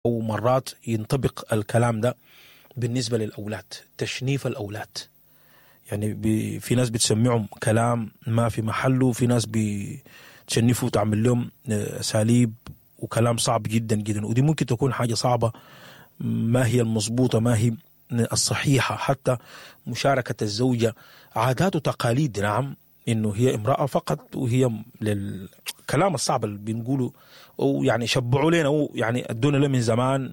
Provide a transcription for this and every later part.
أو مرات ينطبق الكلام ده بالنسبة للأولاد، تشنيف الأولاد. يعني في ناس بتسمعهم كلام ما في محله، في ناس بتشنفوا وتعمل لهم اساليب وكلام صعب جدا جدا، ودي ممكن تكون حاجة صعبة، ما هي المظبوطة، ما هي الصحيحة. حتى مشاركة الزوجة عادات وتقاليد، نعم انه هي امرأة فقط، وهي للكلام الصعب اللي بنقوله، ويعني شبعوا لنا ويعني ادونا له من زمان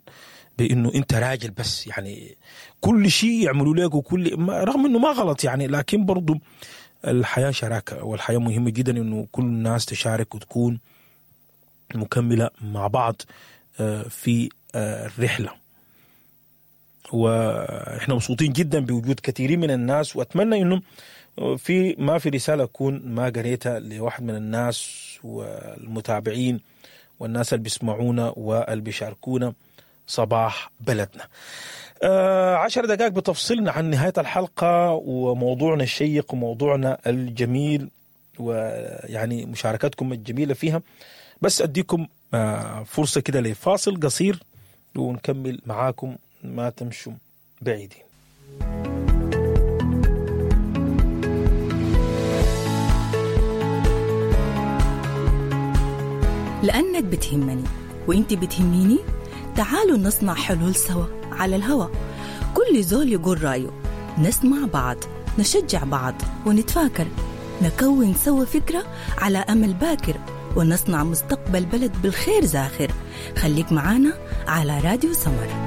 بانه انت راجل بس، يعني كل شيء يعملوا لك وكل ما، رغم انه ما غلط يعني، لكن برضو الحياة شراكة، والحياة مهمة جدا انه كل الناس تشارك وتكون مكملة مع بعض في الرحلة. واحنا مبسوطين جدا بوجود كثيرين من الناس، واتمنى انه في ما في رسالة اكون ما قريتها لواحد من الناس والمتابعين والناس اللي بيسمعونا واللي بيشاركونا صباح بلدنا. 10 دقائق بتفصلنا عن نهاية الحلقة وموضوعنا الشيق وموضوعنا الجميل، ويعني مشاركتكم الجميلة فيها. بس أديكم فرصة كده لفاصل قصير ونكمل معاكم، ما تمشوا بعيدين. لأنك بتهمني وإنت بتهميني، تعالوا نصنع حلول سوا على الهوا. كل زول يقول رأيه، نسمع بعض، نشجع بعض ونتفاكر، نكون سوا فكرة على أمل باكر، ونصنع مستقبل بلد بالخير زاخر. خليك معانا على راديو سمر.